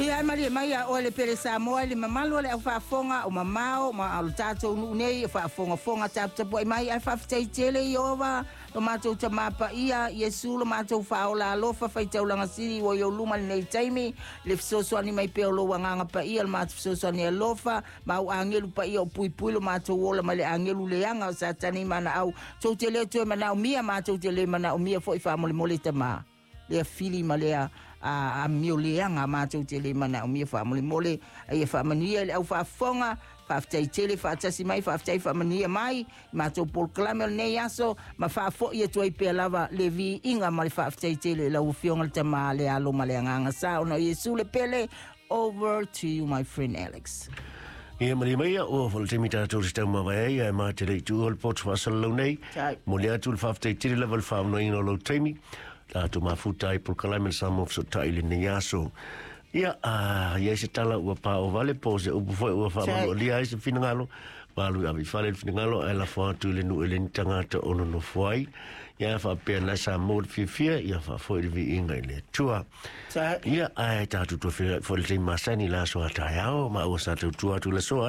Ia e malie mai a oe le pele Samoa i le mamalu o le au faafofoga o mamao ma o le tatou nuu nei o faafogafoga taputapuai mai ae faafetai tele Ieova lo matou Tamā Paia Iesu lo matou Faaola alofa faitaulaga sili ua i ou luma i lenei taimi le fesoasoani mai pea o lou Agaga Paia lo matou fesoasoani alofa ma au agelu paia o puipui lo matou ola mai le agelu leaga o Satani ma ana au tou te le toe manaomia matou te le manaomia foi faamolemole Tamā lea fili ma lea amio leaga matou te le manaomia faamolemole a ia faamanuia i le au faafofoga faafetai tele faatasi mai faafetai faamanuia mai i matou polokalame o lenei aso ma faafoi atu ai pea lava le viiga ma le faafetai tele i lau Afioga le Tamā le Alo ma le Agaga Sa ona o Iesu le pele. Over to you, my friend Alex. Ia malie mai ia, ua fo le taimi tatou te taumavae ai, ae ma te le i tuua le poto faasalalau nei. Momoli atu le faafetai tele lava i le faaonaina o lou taimi, tatou mafuta ai polokalame le Samoa Fesootai i lenei aso. Ia, a i ai se tala ua paoa vale po o se upu foi ua faamanualia ai se finagalo, malu i ave i fale le finagalo ae lafo atu i le nuu e le ni tagata o nonofo ai. Ia faapea na sa mo le fiafia, ia faafoi le viiga i le Atua. Ia, ae tatou toe feiloai foi i le taimi masani i le aso a taeao, ma ua sa tautua atu i le aso.